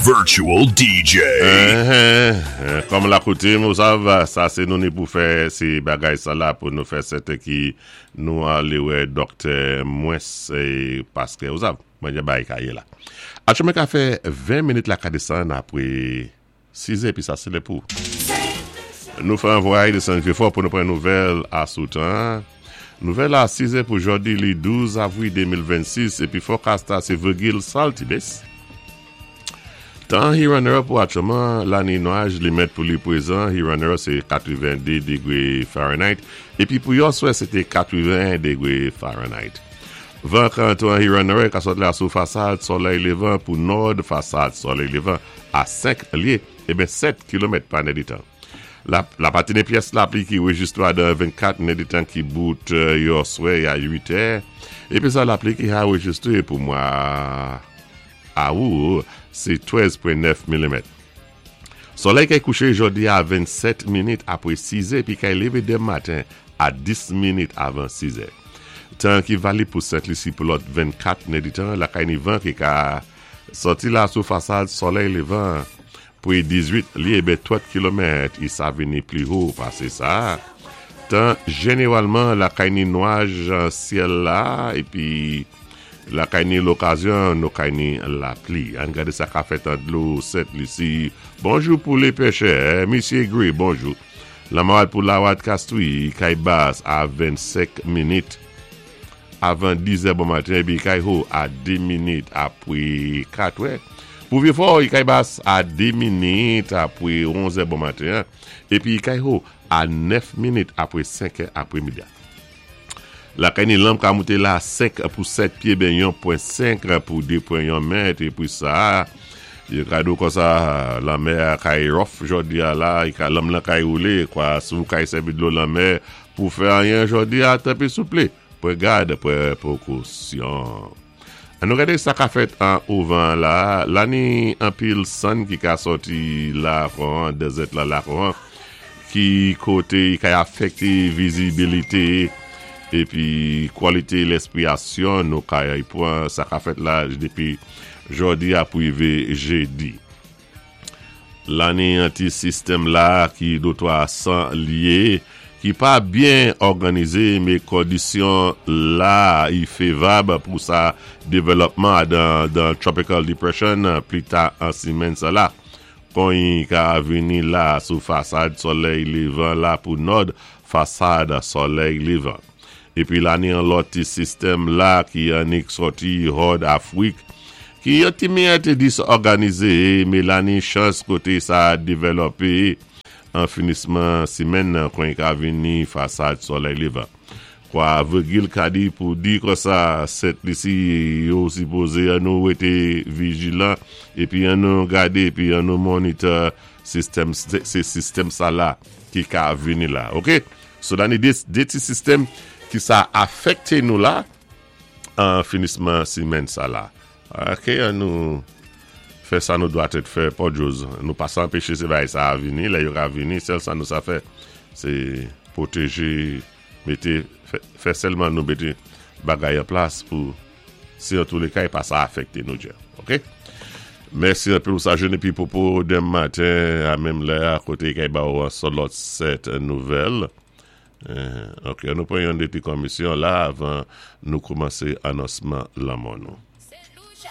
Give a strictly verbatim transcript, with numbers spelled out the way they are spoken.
Virtual D J. Kòm la koutim, ou sav, sa sé nou ni pou fè sé bagay sa la pou nou fè sèten ki nou alé wè dòktè mwens paské ou sav, mwen gen bay kaye la. Atchoumen ka fè ven minit la ka desann apwé sis épi sa sé lè pou nou fè an vwayaj desann Vyé Fò pou nou pran nouvèl asou tan. Nouvèl a sis pou jòdi li douz avwil de mil vennsis épi forecast la sé Virgil Saltibes. Tan Huron pou atchouman, la ni nwaj li mèt pou li pwézan, Huron sé katwéven-dé dégwé Fahrenheit, épi pou yèswè sé té katwenn-en dégwé Fahrenheit. Van kanton Huron ka sot la sou fasad solèy lévan pou nòd fasad solèy lévan a senk lyé, ében sèt kilomèt pa nèditan. La, la patine pyès lapli ki wéjistwé dan vennkat nèditan ki bout yèswè a uit è, épi sa lapli ki a wéjistwé pou mwa awou, sé trèz pwen nèf milimèt. Solèy kay kouché jòdi a vennsèt minit apwé sis è, pi kay lévé denmen maten a dis minit avan sis è. Tan ki valib pou Sent Lisi pou lòt vennkat nèditan, la kay ni van ki ka sòti la sou fasad solèy lévan pou dizuit lyé ben trant kilomèt, i sa vini pli wo pasé sa. Tan jénéwalman la kay ni nwaj syèl la, épi la kay ni lokazyon nou kay ni lapli. An gadé sa ka fèt an dlo Sent Lisi. Bonjou pou lé péchè, Misyé Gray, bonjou. Lanmè pou Lawad Castries, kay bas a vennsenk minit avan dis è bon maten, épi kay wo a dé minit apwé kat è. Pou Vyé Fò, kay bas a dé minit apwé onz è bon maten, épi kay wo a nèf minit apwé senk è apwémidi. La kay ni lanm ka mouté la senk pou sèt pyé ben yon pwen senk pou de pwen yon mèt épi sa yo ka di konsa lanmè kay rough jòdi a la, i ka lanm lan kay woulé kwa sou kay sèvi dlo lanmè pou fè anyen jòdi a, tanpwi souplé pwan gad, pwan pwékosyon. An nou gadé sa ka fèt an ouvan la, la ni anpil sann ki ka sòti la kon, desert la la kon, ki koté kay afèkté vizibilité épi kwalité lèspirasyon nou kay pwan sa ka fèt la dépi jòdi a pou wivé jédi. La ni an ti sistèm la ki dotwa san lyé, ki pa byen òganizé, mé kondisyon la i févab pou sa dévèlopman dan, dan tropical depression pli ta an simenn sa la. Kon i ka vini la sou fasad solèy lévan la pou nòd fasad solèy lévan. Épi la ni an lòt ti sistèm la ki annik sòti Hòd Afwik, ki yon ti miyèt disòganizé, mé la ni chans koté sa dévèlopé an finisman simenn kon i ka vini fasad solèy lévan. Kwa Virgil ka di pou di konsa, Sent Lisi yo sipozé an nou wété vijilan, épi an nou gadé, épi an nou monitor sistèm, sé sistèm sa la ki ka vini la, ok? So la ni dé, dé ti sistèm ki sa afèkté nou la an finisman simenn sa la. Ok, an nou fè sa nou dwa tèt fè, pòdjòz. Nou pa sa anpéché sé bagay sa a vini, lè yo ka vini, sèl sa nou sa fè, sé pwotéjé, mété, fè, fè sèlman nou mété bagay an plas pou si an tou lé ka pa sa afèkté nou dja. Ok? Mèsi anpil pou sa jounen épi popo denmen maten a menm lè a koté kay ba ou an son lòt sèt nouvèl. Euh, ok, nou pran yon ti komisyon la avan nou koumansé anonsman lanmò nou.